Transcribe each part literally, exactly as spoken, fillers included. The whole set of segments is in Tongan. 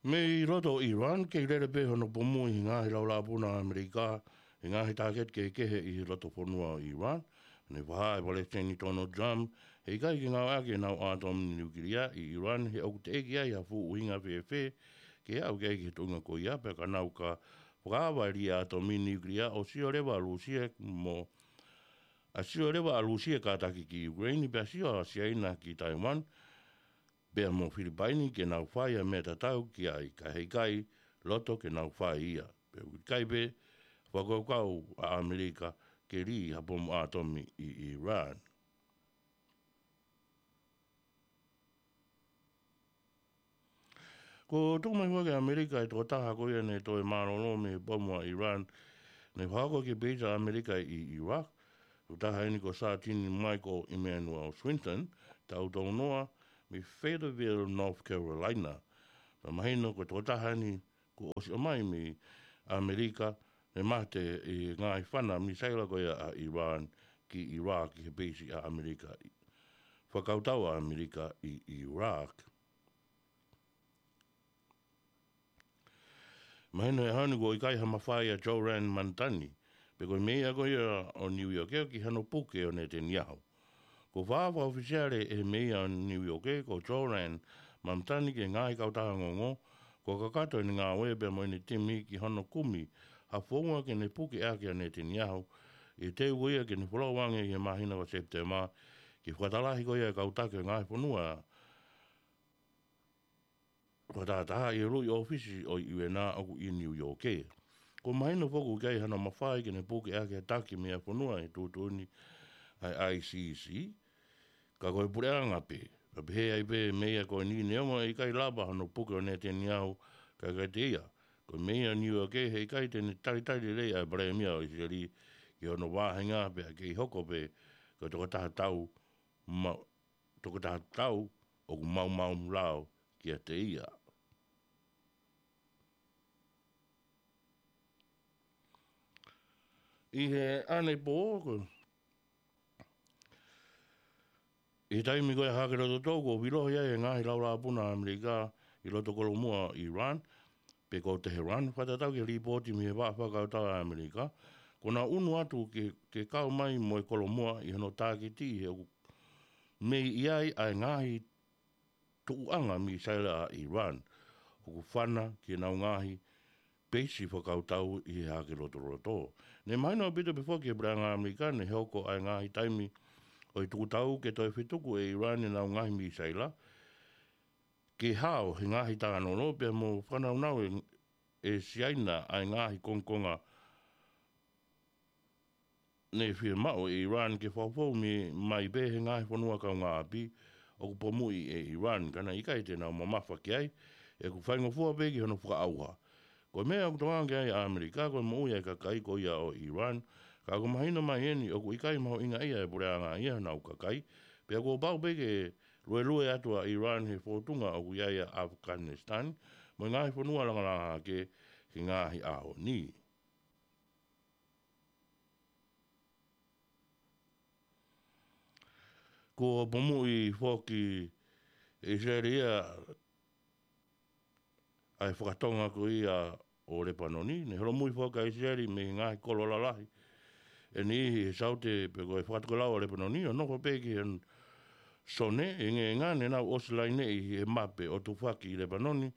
Mei loto ʻo ʻIran, kei lele pē hono pomuʻi ʻi he ngaahi laulāpuna ʻa ʻAmelika ʻi he ngaahi tāketi kehekehe ʻi loto fonua ʻo ʻIran. Ne fakahā ʻe Palesiteni Donald Trump he ʻikai ke ngāueʻaki ʻenau ʻātomi niukilia ʻi ʻIran, he ʻoku teʻeki ai ha fuʻu ʻuhinga fēfē ke aʻu ki ai ki he tuʻunga ko ia, pea ka nau ka fakaava e lī ʻātomi niukilia ʻo sio leva ʻa Lūsia mo, ʻa sio leva ʻa Lūsia kātaki ki ʻIukuleini, pea sio ʻa Siaina ki Taiwan, pea mo Filipaini ke nau fai ʻa e meʻa tatau ki ai, ka heʻikai loto ke nau fai ia. Pea ʻoku ʻikai pē fakakaukau ʻa ʻAmelika ke lī ha pomu ʻātomi ʻi ʻIran. Kuo tuku mai foki ʻe ʻAmelika e tokotaha ko ia ne toe mālōlō mei he pomu ʻa ʻIran ne fakahoko ki he peisi ʻa ʻAmelika ʻi ʻIraq. Ko e tokotaha eni ko Sātini Michael Emanuel Swinton, taʻu tolungofulu mā ua, mei Fayetteville, North Carolina. Pea mahino ko e tokotaha eni kuo ʻosi ʻomai mei ʻAmelika, ne mate ʻi he ngaahi fana misaila ko ia ʻa ʻIran ki ʻIraq, ki he peisi ʻa ʻAmelika, fakakautau ʻa ʻAmelika ʻi ʻIraq. Mahino he ʻaho ni kuo ʻikai ha mafai ʻa Zohran Mamdani, pe ko e meia ko ia ʻo Niu ʻIoke, ki hano puke ʻo Netanyahu. Kuo fakahā fakaʻofisiale ʻe he meia ʻo Niu ʻIoke ko Zohran Mamdani ki he ngaahi kautaha ongoongo kuo kakato ʻene ngāue pea mo ʻene timi ki hono kumi ha founga ke ne puke ʻaki ʻa Netanyahu, ʻi he teu ko ia ke ne folau ange ʻi he māhina ko Sepitema, ki he fakatalahi ko ia ʻa e kau taki ʻo e ngaahi fonua fakatahataha ʻi he uluʻi ʻōfisi ʻo e U N ʻoku ʻi Niu ʻIoke. Kuo mahino foki ʻoku ʻikai hano mafai ke ne puke ʻaki ha taki meia fonua ʻi he tuʻutuʻuni ʻa e I C C, ka ko e puleʻanga pē. Ka pehē ai pē meia ko eni, neongo ʻe ʻikai lava hano puke ʻo Netanyahu, ka ʻikai te ia, ko e meia Niu ʻIoke, heʻikai te ne talitali lelei ʻa e palēmia ʻo ʻIsileli ki hono vāhenga, pea kei hoko pē ko e tokotaha tau ma-, tokotaha tau ʻoku maumau lao kiate ia. ʻI he ʻanepō, ko, ʻi he taimi ko ia ʻa e hake lototoʻa, kuo vilohi ai e ngaahi laulāpuna ʻa ʻAmelika ʻi loto kolomuʻa ʻo ʻIran, pe ko Teheran, fakatatau ki he lipooti mei he vaʻa fakakautau ʻa ʻAmelika, kuo nau ʻunu atu ke, ke kau mai mo e kolomuʻa ʻi hono tākiti he ʻoku mei ʻi ai ʻa e ngaahi tuʻuʻanga misaila ʻa ʻIran ʻoku fana ki heʻenau ngaahi peisi fakakautau ʻi he hake lotoloto. Ne mahino ʻaupito pē foki ki he puleʻanga ʻAmelika ne hoko ʻa e ngaahi taimi ʻo e tukutau ke toe fetuku ʻe ʻIran ʻenau ngaahi misaila, ke hao he ngaahi talanoa pea mo fakanaunau ʻe, ʻe Siaina ʻa e ngaahi kongokonga ne fiemaʻu ʻe ʻIran ke fakafoʻou mai pē he ngaahi fonua kaungāʻapi ʻoku pomuʻi ʻe ʻIran, ka naʻe ʻikai te nau mamafa ki ai, he ʻoku faingofua pē ki hono fakaʻauha. Ko e meʻa ʻoku tokanga ki ai ʻa ʻAmelika, ko e moʻui ʻa e kakai ko ia ʻo ʻIran, ka ʻoku mahino mai eni ʻoku ʻikai mahuʻingaʻia ʻe he puleʻanga ia honau kakai, pea kuo pau pē ke luelue atu ʻa ʻIran he fōtunga ʻoku ʻi ai ʻa ʻAfikanisitani mo e ngaahi fonua langalanga hake he ngaahi ʻaho ni. Kuo pomuʻi foki ʻe ʻIsileli ia ʻa e fakatonga ko ia ʻo Lepanoni, ne holomui foki ʻa ʻIsileli mei he ngaahi kolo lalahi ʻe niʻihi he saute pe ko e fakatokelau ʻo Lepanoni, ʻo nofo pē ki he sone, ʻi he ngaahi ne nau ʻosi laineʻi he mape ʻo tufaki ʻi Lepanoni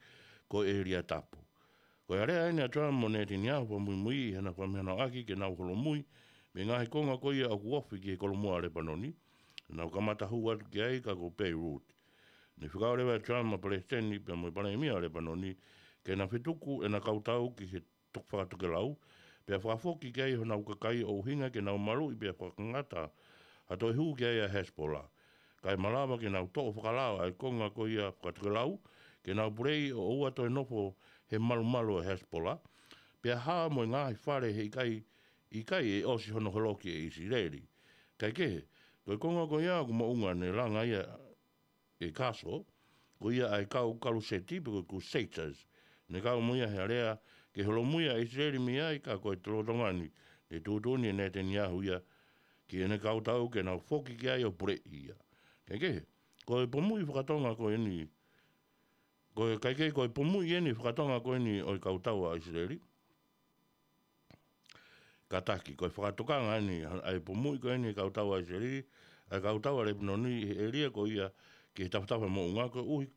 ko e ʻēlia tapu. Ko e aleaʻi eni ʻa Trump mo Netanyahu fakamuimui ʻi heʻena fakamahinoʻaki ke nau holomui mei he ngaahi konga ko ia ʻoku ofi ki he kolomuʻa ʻo Lepanoni, nau kamata hū atu ki ai, ka ko Beirut. Ne fekau leva ʻe Trump ʻa e palesiteni pea mo e palēmia ʻo Lepanoni ke na fetuku ʻena kautau ki he to-, fakatokelau, pea fakafoki ki ai honau kakai ʻo ʻuhinga ke nau maluʻi pea fakangata ha toe hū ki ai ʻa Hezbollah. Kae malava ke nau toʻo fakalao ʻa e konga ko ia fakatokelau, ke nau puleʻi ʻo ʻoua toe nofo he malumalu ʻo Hezbollah, pea hao mo e ngaahi fale he ʻikai, ʻikai ʻe ʻosi hono holoki ʻe ʻIsileli. Kaekehe, ko e konga ko ia ʻoku moʻunga ne langa ia ʻe Kaso, ko ia ʻa e kau kaluseti pe ko e Crusaders, ne kau mo ia he alea ke holomui ʻa ʻIsileli mei ai, ka ko e lolotonga ni, ne tuʻutuʻuni ʻe Netanyahu ia ki heʻene kautau ke nau foki ki ai ʻo puleʻi ia. Kaekehe, ko e pomuʻi fakatonga ko eni Ko e kaikehe ko e pomuʻi eni fakatonga ko eni ʻo e kautau ʻa ʻIsileli. Kātaki, ko e fakatokanga eni ʻa e pomuʻi ko eni e kautau ʻa ʻIsileli, ʻa e kautau ʻa Lepanoni ʻi he ʻēlia ko ia ki he tafatafa moʻunga koeʻuhi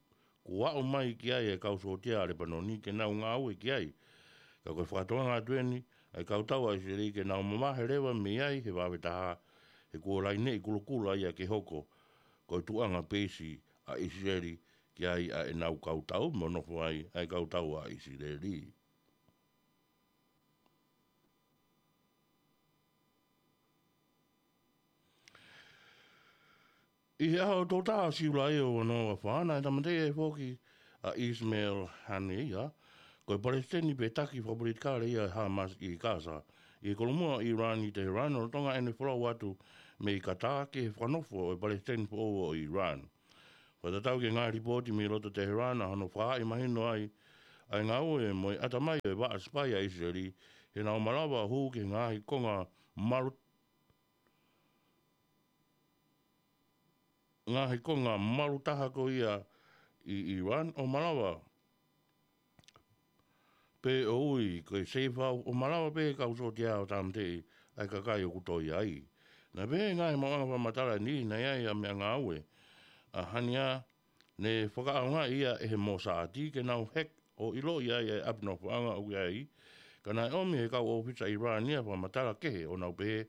kuo aʻu mai ki ai e kau sōtia ʻa Lepanoni ke nau ngāue ki ai. Ka ko e fakatokanga atu eni ʻa e kautau ʻa ʻIsileli ke nau mavahe leva mei ai he vave taha, he kuo laineʻi kulokula ia ke hoko ko e tuʻunga peisi ʻa ʻIsileli ki ai ʻa ʻenau kautau mo nofo ai ʻa e kautau ʻa ʻIsileli. ʻI he ʻaho tolu taha Siulai ʻo ua noa ua fā naʻe tāmateʻi ai foki ʻa ʻIsimeli Haneia, ko e palesiteni pe taki fakapolitikale ia ʻa Hamas ʻi Kasa, ʻi he kolomuʻa ʻo ʻIlani ʻi Teheran, lolotonga ʻene folau atu mei Katā ki he fakanofo ʻo e palesiteni foʻou ʻo ʻIlani. Fakatatau ki he ngaahi lipooti mei loto Teheran, ʻa hono fakahaaʻi mahino ai ʻa e ngāue mo e ʻatamai ʻo e vaʻa sipai ʻa ʻIsileli, he naʻa nau malava ʻo hū ki he ngaahi konga malu ngaahi konga malu taha ko ia ʻi ʻIlani ʻo malava pē ʻo ui ko e seifau ʻo malava pē kau sōtia ʻo tāmateʻi ʻa e kakai ʻoku toe ʻi ai. Naʻe pehē ʻe he ngaahi maʻuʻanga fakamatala ni naʻe ʻi ai ʻa e meʻangāue ʻa Haneia ne fakaʻaongaʻi ia ʻe he Mōsāti ke nau heki ʻo ʻiloʻi ai ʻa e ʻapi nofoʻanga ʻoku ʻi ai, ka naʻe ʻomi ʻe he kau ʻōfisa ʻIlani ʻa e fakamatala kehe ʻo nau pehē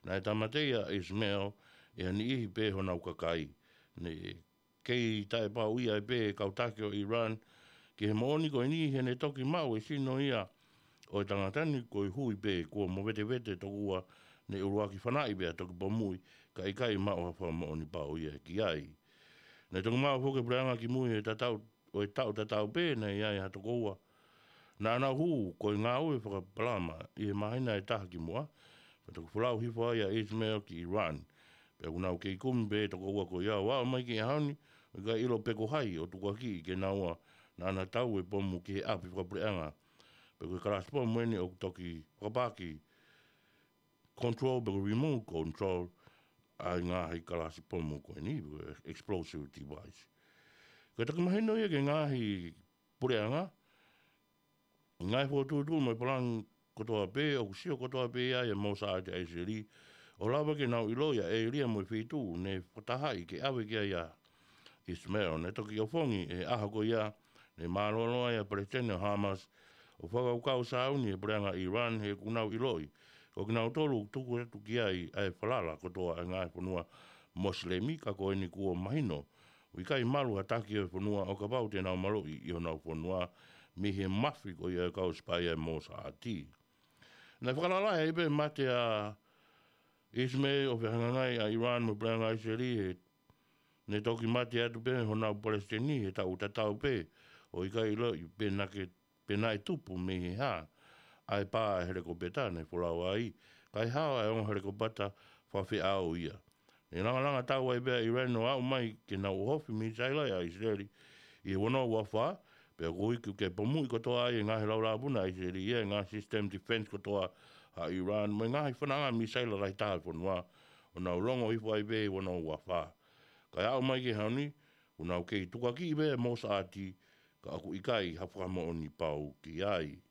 naʻe tāmateʻi ʻa ʻIsimeli ʻe ha niʻihi pē honau kakai. Ne kei taʻepauʻi ai pē ʻe he kau taki ʻo ʻIlani ki he moʻoni ko eni he ne toki maʻu e sino ia ʻo e tangata ni ko e hui pē kuo movetevete tokua ne ʻuluaki fanaʻi pea toki pomuʻi kae ʻikai maʻu ha fakamoʻoni pau ia ki ai. Naʻe toki maʻu foki e puleʻanga kimui he tatau ʻo e taʻu tatau pē naʻe ʻi ai ha toko ua naʻa nau hū ko e ngāue fakapalama ʻi he māhina ʻe taha kimuʻa, pea toki folau hifo ai ʻa ʻIsimeli ki ʻIlani. Pea ʻoku nau kei kumi pē toko ua ko ia ʻo aʻu mai ki he ʻaho ni, ʻo ʻikai ʻilo pe ko hai ʻo tukuakiʻi ke naua naʻa na tau e pomu ki he ʻapi fakapuleʻanga. Pea ko e kalasi pomu eni ʻoku toki fakapaki control, pe ko e remote control, ʻa e ngaahi kalasi pomu ko eni, pe ko e explosive device. Ko e toki mahino ia ki he ngaahi puleʻanga, ngaahi fokotuʻutuʻu mo e palani kotoa pē, ʻoku sio kotoa pē ia ʻa e Mōsāti ʻa ʻIsileli, ʻo lava ke nau ʻiloʻi ʻa e ʻēlia mo e feituʻu ne fakatahaʻi ke ʻave ki ai ʻa ʻIsimeli. Ne toki ʻofongi ʻi he ʻaho ko ia ne mālōlō ai ʻa e palesiteni ʻo Hamas ʻo fakakaukau sāuni ʻi he puleʻanga ʻIlani he ʻoku nau ʻiloʻi ko kinautolu ʻoku tuku atu ki ai ʻa e falala kotoa ʻa e ngaahi fonua Mosilemi, ka ko eni kuo mahino ʻoku ʻikai malu ha taki ʻo e fonua ʻo kapau te nau maloʻi ʻi honau fonua mei he mafi ko ia ʻa e kau sipai ʻa e Mōsāti. Naʻe fakalalahi ai pē mate ʻa ʻIsimeli ʻo fehangahangai ʻa ʻIlani mo e puleʻanga ʻIsileli he ne toki mate atu pē honau palesiteni he taʻu tatau pē, ʻo ʻikai ʻiloʻi pe naʻe, pe naʻe tupu mei he hā ʻa e pā ʻa e helikopeta ne folau ai, kae hao ʻa e ongo helikopeta fakafeʻao ia. Ne langalanga tau ai pē ʻa ʻIlani ʻo aʻu mai ke nau ʻohofi misaila ʻa ʻIsileli ʻi he ua noa ua fā, pea koeʻuhi ke pomuʻi kotoa ai e ngaahi laulāpuna ʻa ʻIsileli ʻa e ngaahi system defense kotoa ʻa ʻIlani mo e ngaahi fanaʻanga misaila lahi taha ʻo e fonua, ʻo nau longo hifo ai pē ʻi he ua noa ua fā. Kae aʻu mai ki he ʻaho ni, ʻoku nau kei tukuakiʻi pē ʻa e Mōsāti, ka ʻoku ʻikai ha fakamoʻoni pau ki ai.